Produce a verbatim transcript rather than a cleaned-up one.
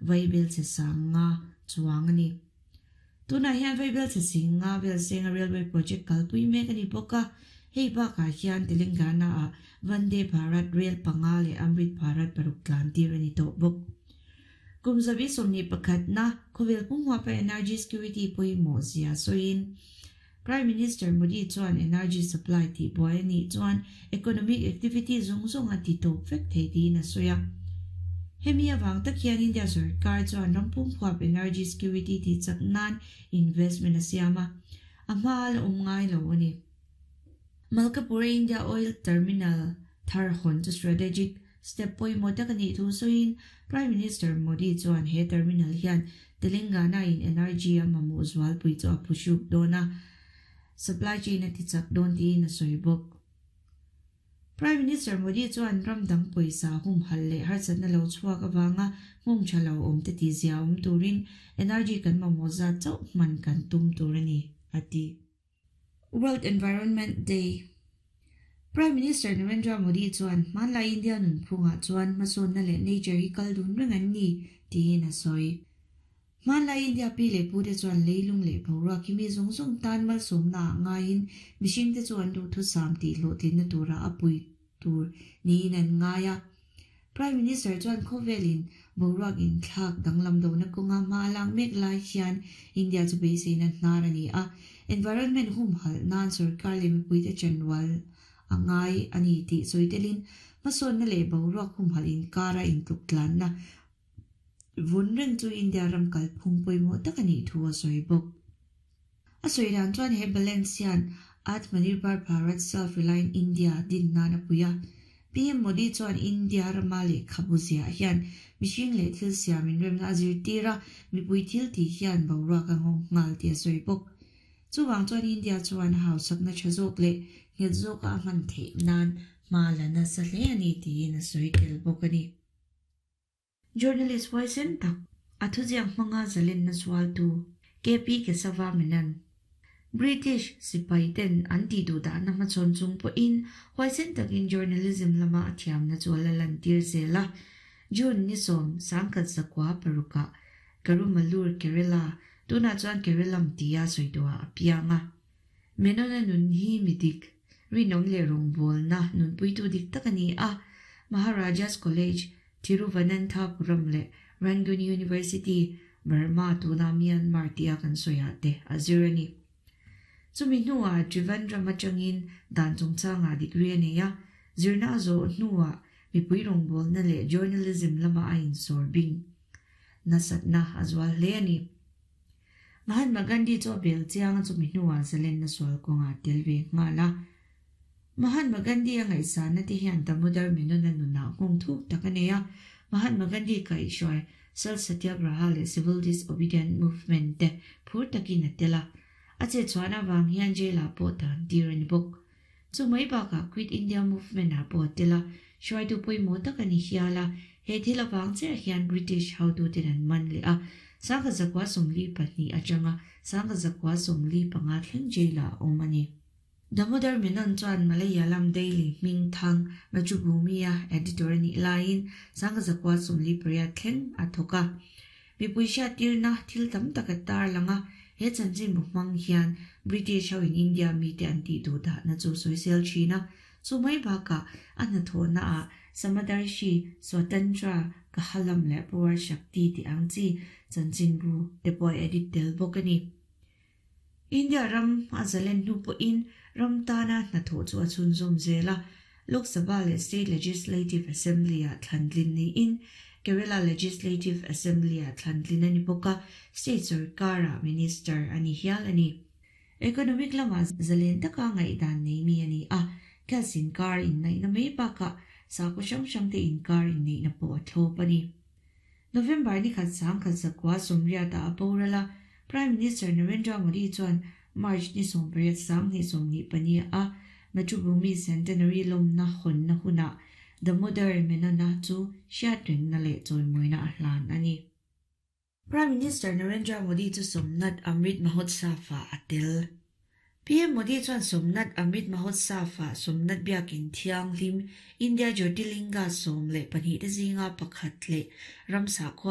Vaibelchhe sanga chuang ani. Tuna hian vaibelchhe singa vel senga railway project kalpui mek ani bawk a. Hei bakah hian Telangana a Vande Bharat Rail panga leh Amrit Bharat paruk tlan tir ani tawh bawk. Kum zabi sawmhnih pakhat na khawvel pumhuapa energy security pawimawh zia sawiin Prime Minister Modi chuan energy supply tih buai anih chuan economic activity zawng zawng a ti tawp vek thei tiin a sawi a. Hemi awang tak hian India sarkar chuan ram pumhuap energy security tih chak nan investment a siam a, a hma la awm ngai lo ani. Malkapur India Oil Terminal thar hawn chu strategic step pawimawh tak anih thu sawiin Prime Minister Modi chuan he terminal hian Telangana in energy a mamawh zualpui chu a phuhruk dawn a, supply chain a ti chak dawn tiin a sawi bawk. Prime Minister Modi chuan ram dang pawisa hum hal leh harsatna lo chhuak awanga hmung tha lo awm te ti zia awm turin energy kan mamawh zat chauh hman kan tum tur ani a ti. World Environment Day. Prime Minister Narendra Modi chuan hmanlai India nun phungah chuan hmasawnna leh nature hi kal dun reng an ni tiin a sawi. Hmanlai India pi leh pu te chuan leilung leh boruak hi mi zawng zawng tan malsawmna ah ngaiin mihring te chu an duh thusam tih hlawhtlinna tura a pui tur niin an ngai a. Prime Minister chuan khawvelin boruak in thlak danglam dona kawnga hma lak mek lai hian India chu beiseina hnar ani a. Environment hum hal nan sarkar leh mipui te chanwal a ngai ani tih sawi telin hmasawnna leh boruak hum hal inkara intluk tlanna vun reng chu India ram kalphung pawimawh tak anih thu a sawi bawk. A sawi dan chuan he balance hian Atmanirbhar Bharat Self-Reliant India din nan a pui a. P M Modi chuan India rama leh khabu zia hian mihring leh thil siamin remna a zir tir a, mipui thil tih hian boruak a nghawng nghal tih a sawi bawk. Chuwang chuan India chuan hausakna tha zawk leh nghet zawk a hman theih nan hma la nasa hle ani tiin a sawi tel bawk ani. Journalist huaisen tak a thuziak hmanga zalenna sualtu K P Kesava Menon. British sipai ten an tih duh dahna hmachhawn chung pawhin huaisen takin journalism lama a thiamna chu a la lan tir zel a. June ni sawm sangkhat zakua parukah Karumalur Kerala tunah chuan Keralam tia sawi duah a piang a. Menon a nun hi midik rinawm leh rawngbawlna nunpuitu dik tak ani a. Maharajas College Thiruvananthapuram leh Rangoon University Burma tuna Myanmar tia kan sawiah te a zir ani. Chumi hnuah Trivandrum atangin dan chungchangah degree a nei a, zirna a zawh hnuah mipui rawngbawlna leh journalism lama a insawr bing nasatna a zual hle ani. Mahatma Gandhi chu a bel chiang a chumi hnuah zalenna sual kawngah tel ve nghal a. Mahatma Gandhi a ngaihsana te hian Damodar Menon a nunah nghawng thuk tak a nei a. Mahatma Gandhi kaihhruai Salt Satyagraha leh Civil Disobedience Movement te phur takin a tel a. A che chuan awang hian jail ah pawh tan tir ani bawk. Chu mai bakah Quit India Movement ah pawh a tel a, hruaitu pawimawh tak ani hial a. He thil awang chiah hian British hotu ten an man leh a, sangkhat zakua sawmli pahnih atanga sangkhat zakua sawmli panga thleng jail ah a awm ani. Damodar Menon chuan Malayalam Daily hming thang Mathrubhumi-a editor anih laiin sangkhat zakua sawmli pariat thleng a thawk a. Mipui hriat tirna thil tam tak a tar lang a, he chanchin bu hmang hian British ho in India mite an tih duh dahna chu sawi sel thin a. Chu mai bakah a hnathawhna ah Samadarshi Swatantra Kahalam leh Power Shakti tih ang chi chanchin bu te pawh a edit tel bawk ani. India ram a zalen hnu pawhin ram tana hnathawh chu a chhunzawm zel a. Lok Sabha leh State Legislative Assembly ah thlantlin niin Kerala Legislative Assembly ah thlantlin ani bawk a, State sarkara minister ani hial ani. Economic lama zalen taka ngaihdan nei mi ani a, cash inkar inneihna mai bakah sakhaw hrang hrang te inkar inneihna pawh a thlawp ani. November ni khat sangkhat zakua sawmriat ah a boral a, Prime Minister Narendra Modi chuan March ni sawmpariat sanghnih sawmhnih pahnih a Mathrubhumi Centenary lawmna hawnna hunah Damodar Menon-a chu hriat rengna leh chawimawina a hlan ani. Prime Minister Narendra Modi chu Somnath Amrit Mahotsav ah a tel. P M Modi chuan Somnath Amrit Mahotsav ah Somnath biakin thianghlim India Jyotirlinga sawm leh pahnih te zinga pakhat leh ramsa khua